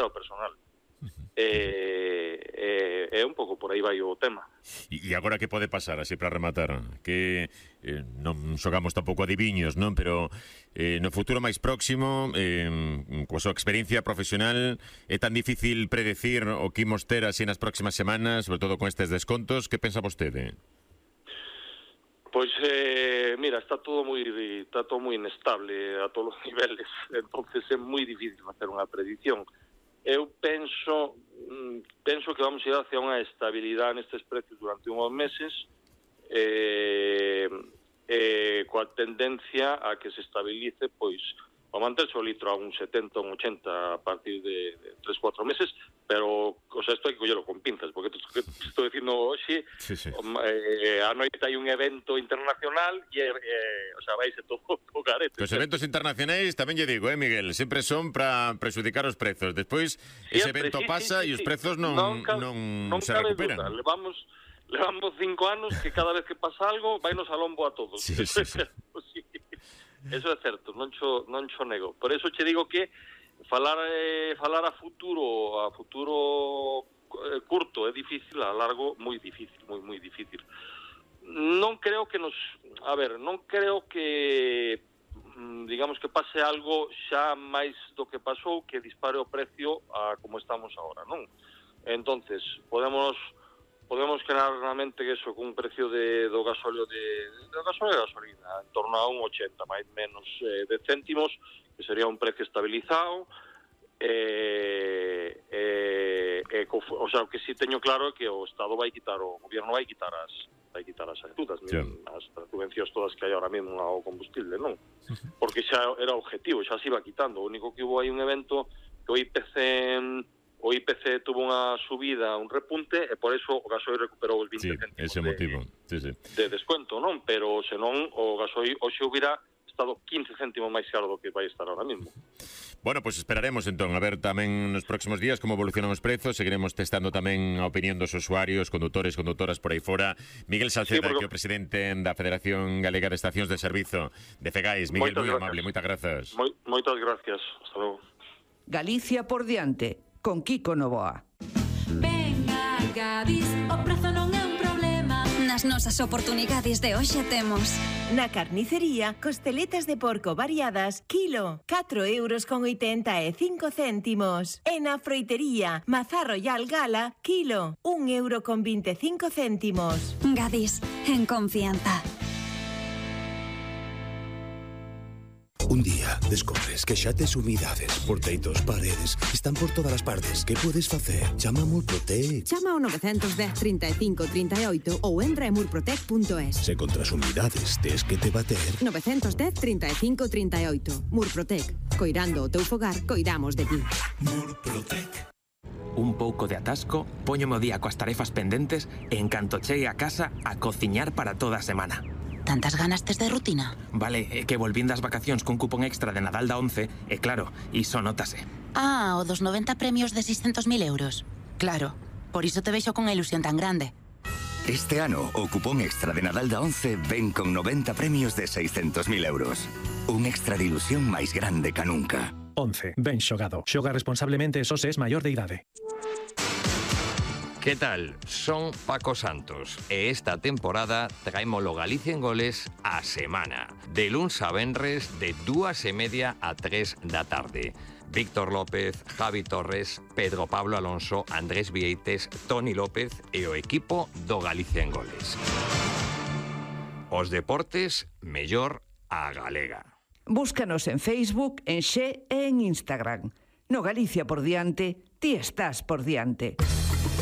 o personal. É un pouco por aí vai o tema. E agora que pode pasar, así para rematar, que non xogamos tampouco adiviños, non? Pero no futuro máis próximo, coa súa experiencia profesional, é tan difícil predecir o que imos ter así nas próximas semanas, sobre todo con estes descontos. Que pensa vostede? Pois, mira, está todo moi inestable a todos os niveles, entonces é moi difícil facer unha predicción. Eu penso que vamos ir hacia unha estabilidade nestes precios durante uns meses, coa tendencia a que se estabilice, pois, a manterse o litro a un 70, un 80 a partir de 3-4 meses, pero, o sea, isto hai que collelo con pinzas, porque estou dicindo hoxe, a noite hai un evento internacional e, o sea, vaise todo o carete. Os eventos internacionais, tamén lle digo, Miguel, sempre son para prexudicar os prezos. Despois, ese evento pasa e os prezos non se recuperan. Levamos 5 anos que cada vez que pasa algo, vainos a lombo a todos. Sí. Eso é certo, non cho nego. Por eso che digo que falar a futuro curto é difícil, a largo moi difícil, moi difícil. Non creo que digamos que pase algo xa máis do que pasou, que dispare o precio a como estamos agora, non? Entonces, podemos crear na mente que eso, con un precio do gasóleo e gasolina en torno a un 80, máis menos de céntimos, que sería un precio estabilizado. O sea, o que sí teño claro é que o Estado o goberno vai quitar as axudas, as subvencións todas que hai ahora mesmo ao combustible, non? Porque xa era o objetivo, xa se iba quitando. O único que hubo aí un evento que o IPC tuvo unha subida, un repunte, e por eso o gasoil recuperou os 20 céntimos ese motivo. De descuento, non? Pero senón o gasoil hoxe hubiera estado 15 céntimos máis caro do que vai estar ahora mesmo. Bueno, pues esperaremos entón a ver tamén nos próximos días como evolucionan os prezos. Seguiremos testando tamén a opinión dos usuarios, condutores, condutoras por aí fora. Miguel Salceda, que é o presidente da Federación Galega de Estacións de Servizo de Fegais. Miguel, moi amable, moitas grazas. Moitas gracias, hasta logo. Galicia por diante, con Kiko Novoa. Venga, Gadis, o prezo non é un problema. Nas nosas oportunidades de hoxe temos na carnicería, costeletas de porco variadas, kilo, 4,85 €. E na froitería, mazá royal gala, kilo, 1,25 €. Gadis, en confianza. Un día descobres que xa tes humidades, porteitos, paredes, están por todas as partes. Que podes facer? Chama a Murprotec. Chama ao 910 35 38 ou entra en murprotec.es. Se contra as humidades tes que te bater. 910 35 38. Murprotec. Coirando o teu fogar, coidamos de ti. Murprotec. Un pouco de atasco, póñome o día coas tarefas pendentes e en canto chegue a casa a cociñar para toda a semana. Tantas ganas tes de rutina? Vale, é que volvín das vacacións cun cupón extra de Nadal da 11 e claro, iso nótase. O dos 90 premios de 600.000 euros. Claro, por iso te vexo con a ilusión tan grande. Este ano, o cupón extra de Nadal da 11 ven con 90 premios de 600.000 euros. Un extra de ilusión máis grande ca nunca. 11. Ben xogado. Xoga responsablemente e só se es maior de idade. ¿Qué tal? Son Paco Santos e esta temporada traémolo Galicia en Goles a semana. De luns a venres de 2:30 a 3 da tarde. Víctor López, Javi Torres, Pedro Pablo Alonso, Andrés Vieites, Toni López e o equipo do Galicia en Goles. Os deportes mellor a galega. Búscanos en Facebook, en Xe e en Instagram. No Galicia por diante, ti estás por diante.